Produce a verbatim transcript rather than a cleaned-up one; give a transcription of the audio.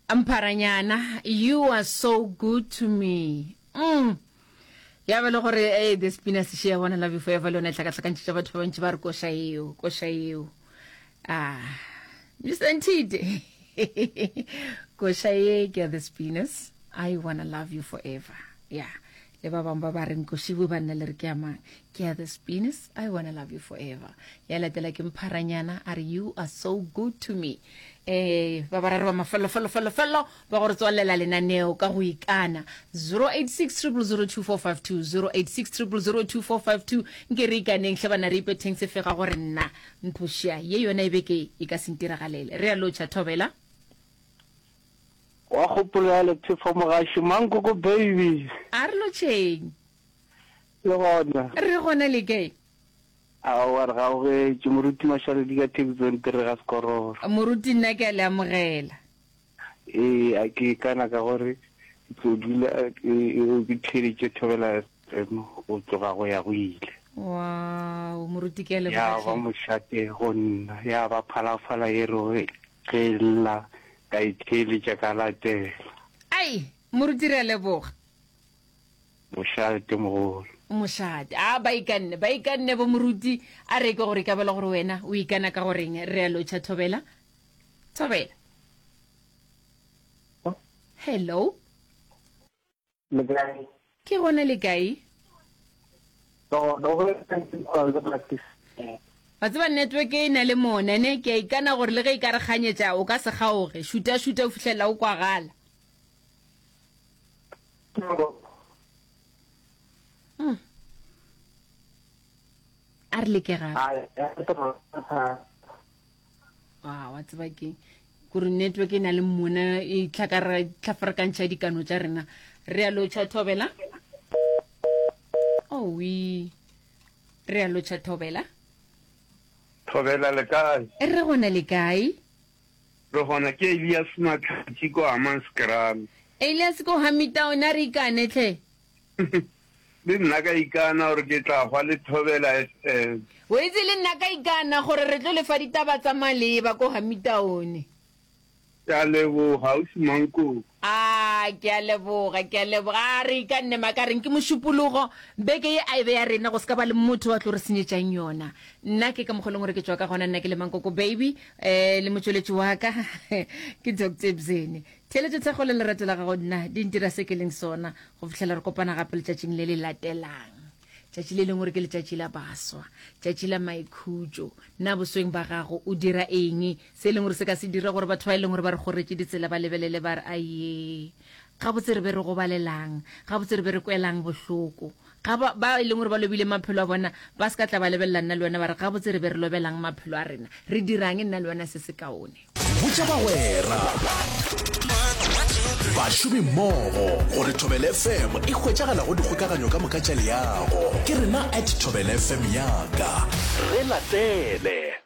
Mpharanyana, you are so good to me. Mm. Ya ba le gore eh the spinner se shea bona love you forever le yona e hlakahlakantšitše batho ba bantši ba re koša eo, koša eo. Ah, Mister Ntite. Koša ye ke ya the spinners. I wanna love you forever. Yeah. Le ba bangwe ba ba reng košibo ba nna le re ke ya mang? Ke ya the spinners. I wanna love you forever. Ya latela ke Mpharanyana a re you are so good to me. Eh ba bararo ba mafello fello fello fello ba go re tswalela lenaneo ka go ikana zero eight six triple zero two four five two zero eight six triple zero two four five two nke re ikaneng hle bana re ipetheng sefega gore nna nthošia ye yona e beke e ka se ntiragalele re a lotšha thobela. Wa kgopolo ya Lethefo Mogaši Mankoko baby. A re lotšheng. Le gona? Re gona le kae? Aowa re gaugetše. Moruti Mašaledi ka Taxon Tere ga Sekororo. Moruti nna ke a le amogela. Ee, a ke ikana ka gore ke tlo dula ke theeditše Thobela F M go tloga go ya go ile. Wow, moruti ke a leboga Ya ba hle. mošate go nna, ya ba phalafala ye re ge e lla ka e theeletša ka latela. Ai, moruti re a leboga. Mošate mogolo. Mošate. A ba ikanne, ba ikanne bo moruti. A re ke gore ka bela gore wena o ikana ka goreng. Re a lotšha Thobela. Thobela. Hello. Le kae? Ke gona le kae? Wa tseba network e na le mona ne, ke a ikana gore le ge e ka re kganyetša o ka se kgaoge. Šuta šuta o fihlela o kwagala. Mm. A re leke gape. Wa wa tseba ke kore network e na le mona e tlhakara tlhafarakantšha dikano tša rena. Re a lotšha Thobela. Owi. Re a lotšha Thobela. Thobela le kae? Re gona le kae? Re gona ke Elias Matlhatši ko Hammanskraal. Elias ko Hamitown a re ikane tlhe. Le nna ka ikana gore ke tla hwa le Thobela F M. O itse le nna ka ikana gore re tlo lefa ditaba tsa maleba ko Hamitown. Ke a leboga ausi Mankoko. A ke a leboga, ke a leboga. A re ikanne makareng ke Mošupologo. Beke ye a e be ya rena go se ka ba le motho wa tlo re senyetšang yona. Nna ke ka mokgwa e leng gore ke tšwa ka gona, nna ke le Mankoko baby, eh, le motšweletši wa ka ke Doctor Bzene. Theeletšo, thekgo le lerato la gago nna di ntira se ke leng sona go fihlela re kopana gape letšatšing le le latelang. Tšatši le lengwe re ke letšatši la baswa, tšatši la maikhutšo. Na bosweng ba gago o dira eng se e leng gore se ka se dira gore batho ba e leng gore ba re kgoretše ditsela ba lebelele ba re, Aye, gabotse re be re gobalelang, gabotse re be re kwelang bohloko? Ga ba, ba e leng gore ba lobile maphelo a bona ba se ka tla ba lebelela nna le wena ba re, Gabotse re be re lobelang maphelo a rena? Re dirang nna le wena se sekaone? Botša bagwera, bašomimmogo gore Thobela F M e hwetšagala go dikgokaganyo ka moka tša leago. Ke rena at Thobela F M yaka. Re latele.